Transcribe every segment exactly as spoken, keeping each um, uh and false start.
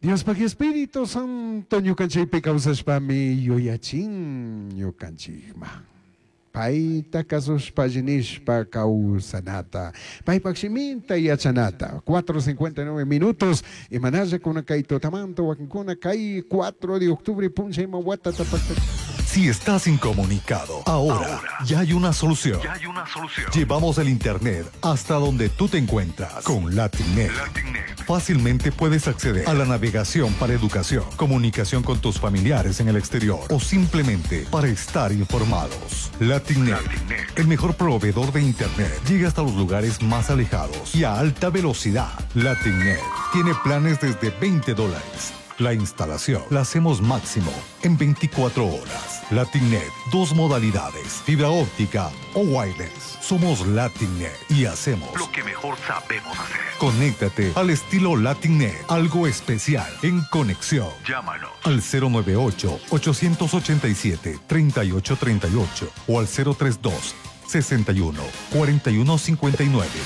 Diospaj Espíritu Santo ñukanchikpi kawsashpami yuyachin ñukanchikman. Payta kasushpa alli nishpa kawsanata, paypaj shiminta yachanata. cuatro cincuenta y nueve minutos, imanalla kuna kay tutamanta wakinkuna kay cuatro de octubre punlla ima watata pacta. Si estás incomunicado, ahora, Ahora. ya hay una solución. Ya hay una solución. Llevamos el internet hasta donde tú te encuentras con LatinNet. LatinNet. Fácilmente puedes acceder a la navegación para educación, comunicación con tus familiares en el exterior o simplemente para estar informados. LatinNet, LatinNet. el mejor proveedor de internet, llega hasta los lugares más alejados y a alta velocidad. LatinNet tiene planes desde veinte dólares. La instalación la hacemos máximo en veinticuatro horas. LatinNet, dos modalidades, fibra óptica o wireless. Somos LatinNet y hacemos lo que mejor sabemos hacer. Conéctate al estilo LatinNet, algo especial en conexión. Llámanos al cero nueve ocho, ochocientos ochenta y siete, treinta y ocho treinta y ocho o al cero tres dos, sesenta y uno, cuarenta y uno cincuenta y nueve.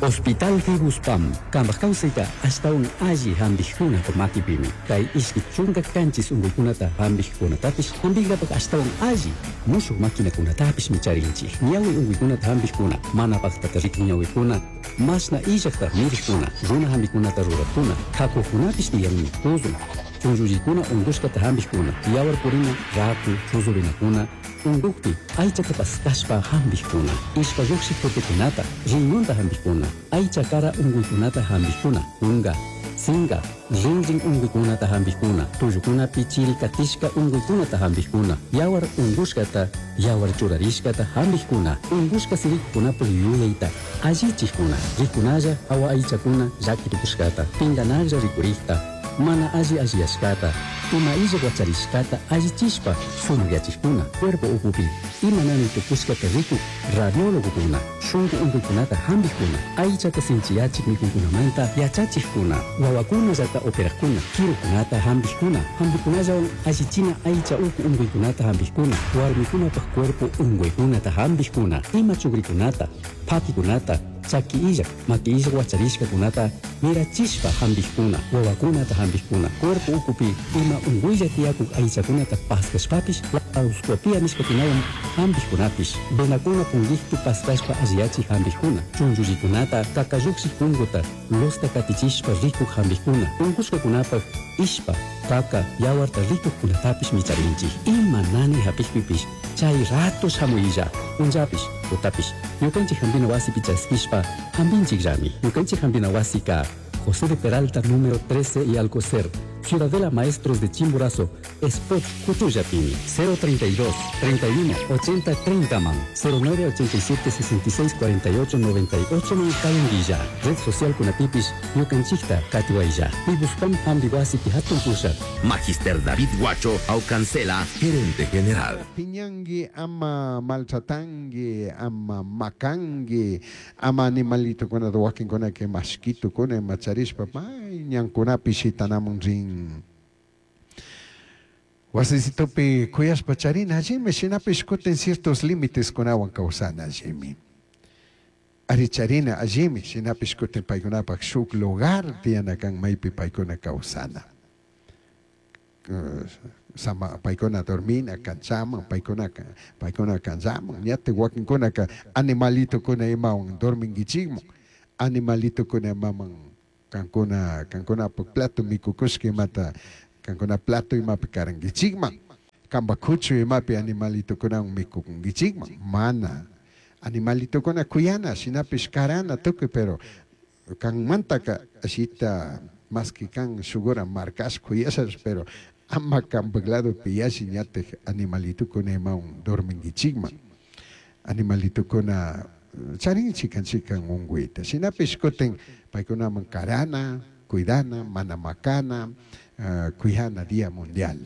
Hospital Fibuspam, kambaj kawsayta ashtawan alli hampijkunapa makipimi. Kay ishki chunka kanchis unkuykunata hampijkunatapish hampinkapak ashtawan alli mushuk maquinakunatapish micharinchik. Ñawi unkuykunata hampijkuna, mana paktata rikun ñawikuna, mashna illakta mirikuna, runa hampikunata rurakuna, hakukunapish tiyanmi, tuzun, chunllullikuna unkushkata hampijkuna, yawar purina, raku, chuzurinakuna, unkukpi aychata paskashpa hampijkuna, ishpa lluqshik tutukunata, riñonta hampijkuna, aycha kara unkuykunata hampijkuna, unga, singa, rinrin unkuykunata hampijkuna, tullukunapi chiri katishka unkuykunata hampijkuna, yawar unkushkata, yawar churarishkata hampijkuna, unkushka sirikukunapuk yuyayta allichikuna, rikunalla awa aychakuna llaki tukushkata, pinganalla rikurikta, mana alli alliyashkata, ima illa wacharishkata allichishpa sumakyachikuna, cuerpo ukupi ima nani tukushkata rikuk radiólogokuna, shunku unkuykunata hampikuna, aychata sinchiyachik mikunkunamanta yachachikkuna, wawakunallata operakuna, kirukunata hampikuna, hampikunallawan allichina aycha uku unkuykunata hampikuna, warmikunapaj cuerpo unkuykunata hampikuna, ima chukrikunata, pakikunata, chaki illak, maki illak wacharishkakunata mirachishpa hampikuna, wawakunata hampikuna, cuerpo ukupi ima unkuylla tiyakuk aychakunata paskashpapish, laparoscopia nishkakunawan hampikunapish, venakuna punkikpi paskashpa alliyachik hampikuna, chunchullikunata, kakallukshik punkuta, losta katichishpa rikuk hampikuna, unkushkakunapak ishpa, kaka, yawarta rikukkunatapish micharinchik. Ima nani hapikpipish, chay rato shamuylla, punllapish, tutapish, ñukanchik hampina wasipi chaskishpa, hampinchikllami. Ñukanchik hampina wasika, José de Peralta, número trece y Alcocer, Ciudadela Maestros de Chimborazo, Spot Cuchuyapini, cero treinta y dos, treinta y uno, ochenta, treinta man, cero nueve ochenta y siete, sesenta y seis, cuarenta y ocho, noventa y ocho man, Cayanguilla, Red Social Kunapipis, Ñukanchikta, Katiwaya, Pibuspam Hambiwasi Pihatun Pusha. Magister David Guacho, Aucancela, gerente general. Piñangui, ama maltratangui, ama macangui, ama animalito kuna wakin kuna que mashquito kuna macharishpa, may ñankunapi shitanamun rin. Wasisitopi kuyashpa charina allimi, shinapish kutin ciertos límites kunawan kawsana allimi. Ari charina allimi, shinapish kutin paykunapak shuk lugar tiyana kan maypi paykuna kawsana. Eh, sama paykuna dormina kanchaman, paykuna ka-, paykuna kanchaman, ñate wakinkunaka animalito kuna imawan dormingichikmun, animalito kuna imaman kankuna, kankuna plato mikukushka imata, kankuna plato imapi karankichikman, kanpa kuchu imapi animalito kunawan mikukunkichikman, mana animalito kuna kuyana, shinapish karana tukuy, pero kanmantaka ashita maski kan shugura markash kuyashash, pero ama kanpak lado piyashi ñatek animalito kuna imawan dorminkichikman, animalito kuna charin chikan chikan unguita, shinapish kutin paykunaman karana, cuidana, mana makana, eh, cuidana Día Mundial,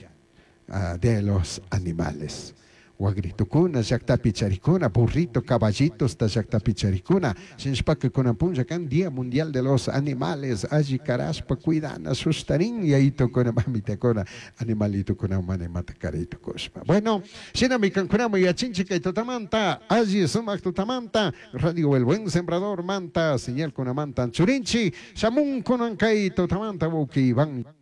eh, de los Animales. Wagritukuna llaqtapi charikuna, burrito, caballitos ta llaqtapi charikuna. Shinashpaka kunan punlla kan Día Mundial de los Animales, alli karashpa cuidana sustarin yayitukuna mamitakuna animalitukuna mana imata karaytukushpa. Bueno, shinami kankunaman yachinchik kay tutamanta, alli sumak tutamanta, Radio El Buen Sembrador manta, señal kunamanta churinchi, shamun kunan kay tutamanta wawki Iván.